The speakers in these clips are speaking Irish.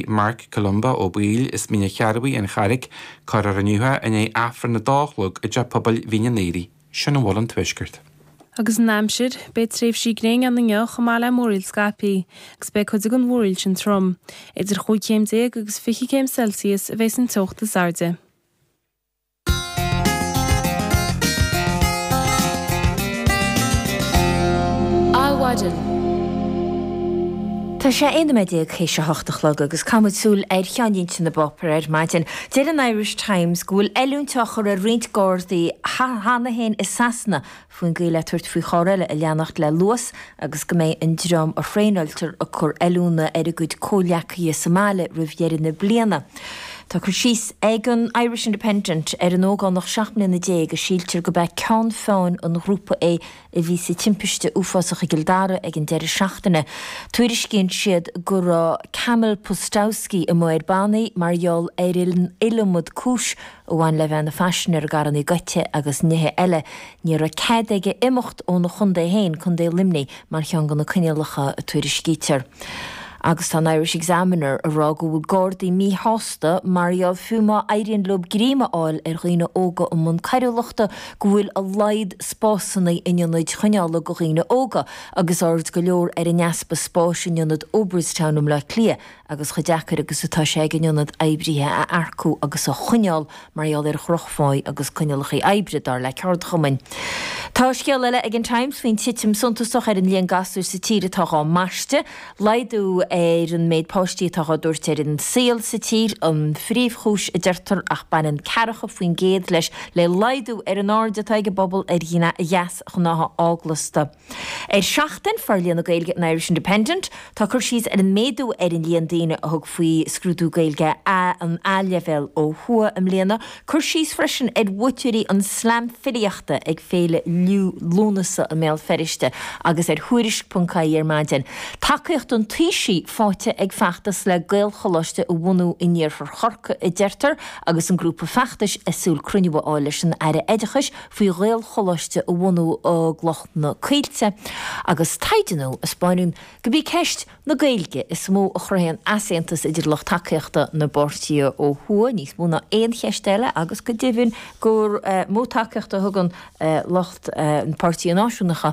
Marc Columba Ó Baoill as Mín an Chearrbhaigh, An Charraig, Cuirfear inniu é i ndiaidh Aifreann a dó a chlog i dTeach Pobail Mhín an Aoraigh. Sin a bhfuil ón Tuaisceart. Agus an aimsir, beidh tréimhsí gréine ann inniu chomh maith le múraíl scaipthe, agus beidh cuid den mhúraíl sin trom. Idir chúig chéim déag agus 20 céim Celsius a bheas an teocht is airde. Adhmhaidin. Tá sé 11 nóiméad théis a hocht a chlog agus caithfimid súil ar cheannlínte na bpáipéar ar maidin. Deir an Irish Times go bhfuil oiliúint á chur ar roinnt Gardaí cheana féin i Sasana faoin gcaoi le tabhairt faoi charr eile a leanacht le luas agus go mbeidh an dream a thraenáiltear ag cur oiliúna ar a gcuid comhghleacaithe sa mbaile roimh dheireadh na bliana. Tá cur síos ag an Irish Independent ar an ógánach 17 mbliana a síltear gurb é ceann feadhain an ghrúpa é a bhí sa timpiste uafásach i gCill Dara ag an deireadh seachtaine. Tuairiscíonn siad go raibh Kamil Pustowski amuigh ar bannaí mar gheall ar an iliomad cúis a bhain le bheith ina phaisinéir i gcarranna goidte agus nithe eile. Ní raibh cead aige imeacht óna chontae féin, Contae Luimnigh, mar cheann de na coinníollacha a tuairiscítear. Agus tá an Irish Examiner ag rá go bhfuil Gardaí míshásta mar gheall fiú má éiríonn leo greim a fháil ar dhaoine óga i mbun coiriúlachta go bhfuil a laghad spásanna in ionaid choinneála go dhaoine óga agus aird go leor ar an easpa spáis in ionad Oberstown i mBleá Cliath agus chomh deacair agus atá sé ag an ionad oibrithe a earcú agus a choinneáil mar gheall ar dhrochphá agus coinníollacha oibre, dar le ceardchumainn. Tá scéal eile ag an Times faoin titim suntasach ar an líon gasúir sa tír atá dhá mbaisteadh. Laghdú ar an méid páistí atá dhá dtabhairt ar an saol sa tír an phríomhchúis a deirtear ach baineann 40% leis le laghdú ar an aird atá ag an bpobal ar dheasghnátha eaglasta. Ar Seachtain, Forlíonadh na Gaeilge an Irish Independent, tá cur síos ar an méadú ar an líon daoine a thug faoi scrúdú Gaeilge A an A-leibhéal ó thuaidh i mbliana. Cur síos freisin ar bhuaiteoirí an Slam Filíochta ag Féile Liú Lúnasa i mBéal Feirste agus ar Thuairisc.ie ar maidin. Tacaíocht an Taoisigh faighte ag feachtas le Gaelcholáiste a bhunú in iarthar Chorcaí a deirtear agus an grúpa feachtais ag súil cruinniú a fháil leis an Aire Oideachais faoi Ghaelcholáiste a bhunú i gCloich na Coillte agus taighde nua a 'spáineann gurb í ceist na Gaeilge is mó a chruthaíonn easaontas idir lucht tacaíochta na bpáirtithe ó thuaidh níos mó ná aon cheist eile agus go deimhin gur mó tacaíocht a thugann lucht na páirtithe náisiúnacha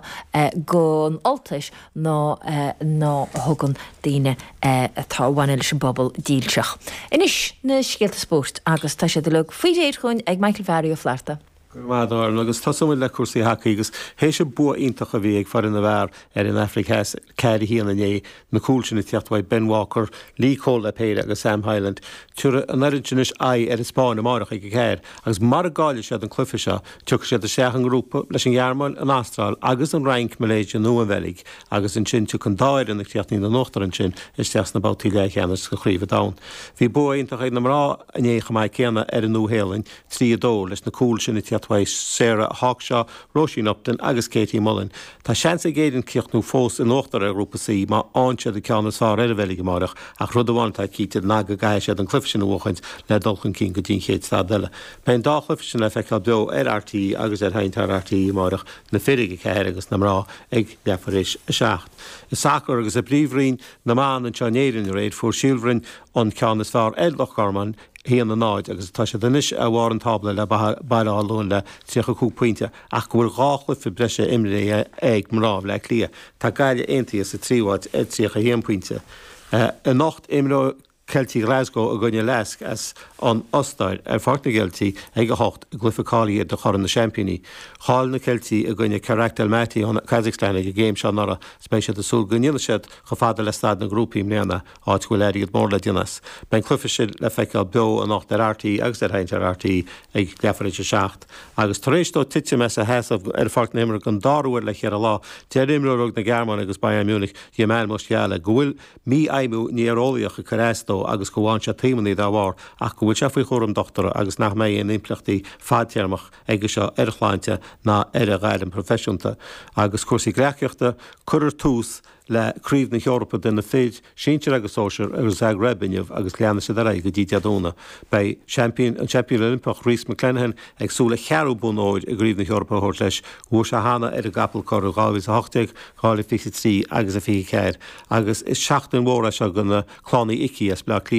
don Ultais ná ná a thugann daoine atá a bhaineann leis an bpobal dílseach. Anois na scéalta spóirt agus tá siad uilig faoi réir chugainn ag Michael Bharry Ó Flatharta. Go raibh maith agat a Dhoireann. Agus tosóidh muid le cúrsaí hacaí agus théis an bua iontach a bhí ag foireann na bhfear ar an Afraic Theas 4 1 inné, na cúil sin ag tíocht uaidh Ben Walker, Lee Cole le péire agus Sam Hyland, tabharfaidh an fhoireann sin anois aghaidh ar an Spáinn amárach ag 4 agus mara gcaillfidh siad an cluiche seo, Tiocfaidh siad isteach i ngrúpa leis an Ghearmáin, an Astráil agus an Fhrainc, Malaysia nó an Bheilg agus ansin tiocfaidh an dá fhoireann a chríochnaíonn in uachtar ansin isteach sna babhtaí leathcheannais de Chraobh an Domhain. Bhí bua iontach ag na mná inné chomh maith céanna ar an Nua-Shéalainn, 3, 2, leis na cúil sin ag tíocht uaidh Sarah Hawkshaw, Róisín Upton agus Katie Mullan. Tá seans ag Éirinn críochnú fós in uachtar ar Ghrúpa C má fhaigheann siad an ceann is fearr ar an Bheilg amáireach ach rud amháin atá cinnte ná go gcaithfidh siad an cluiche sin a bhuachaint le dul chun cinn go dtí an chéad staid eile. Beidh an dá chluiche sin le feiceáil beo ar RTÉ agus ar Sheinnteoir RTÉ amáireach, na fir ag 4 agus na mná ag leathuair théis 7. I sacar agus i bPríomhroinn na mBan anseo in Éirinn aréir, fuair Síol Bhroin an ceann is fearr ar Loch Garman, 1, 0, agus tá siad anois ar bharr an tábla le Baile Átha Luain le 35 pointe ach go bhfuil dhá chluiche breise imrithe ag mná Bhaile Átha Cliath. Tá Gaillimh aontaithe sa tríú háit ar 31 pointe. Anocht imreoidh Ceiltigh Glasgow i gcoinne Lask as an Ostair ar Pháirc na gCeiltí ag 8 i gcluiche cáilithe do Chorn na Seaimpíní. Chaill na Ceiltigh i gcoinne Kairat Almaty ón Kazakhstan ag an gcéim seo anuraidh is beidh siad ag súil go ndéanfaidh siad chomh fada le staid na ngrúpaí i mbliana, áit go bhfuil airgead mór le déanamh as. Beidh an cluiche sin le feiceáil beo anocht ar RTÉ agus ar Sheinnteoir RTÉ ag leathuair tar éis a 7. Agus tar éis dó titim as a sheasamh ar pháirc na himeartha don dara huair le cheithre lá, deir imreoir óg na Gearmáine agus Bayern Munich, Jamal Musiala, go bhfuil mífheidhmiú néareolaíoch ag cur as dó agus go bhfaigheann sé taomannaí dá bharr ach go bhfuil sé faoi chúram dochtúra agus nach mbeidh aon impleachtaí fadtéarmach aige seo ar a shláinte ná ar a ghairm proifisiúnta. Agus cúrsaí gleacaíochta, cuirfear tús. le Craobh na hEorpa do na fir, sinsir agus sóisir, i Zagreb inniu agus leanfaidh siad ar aghaidh go dtí Dé Domhnaigh. Beidh seaimpín, an seaimpín Oilimpeach Rhys McClenaghan ag súil a cheathrú bonn óir i gCraobh na hEorpa a thabhairt leis. Bhuaigh sé cheana ar an gcapall corr i 2018, 2023 agus 24 agus is seachtain mhór é seo do na clann Uí Icí as Bleá Cliath.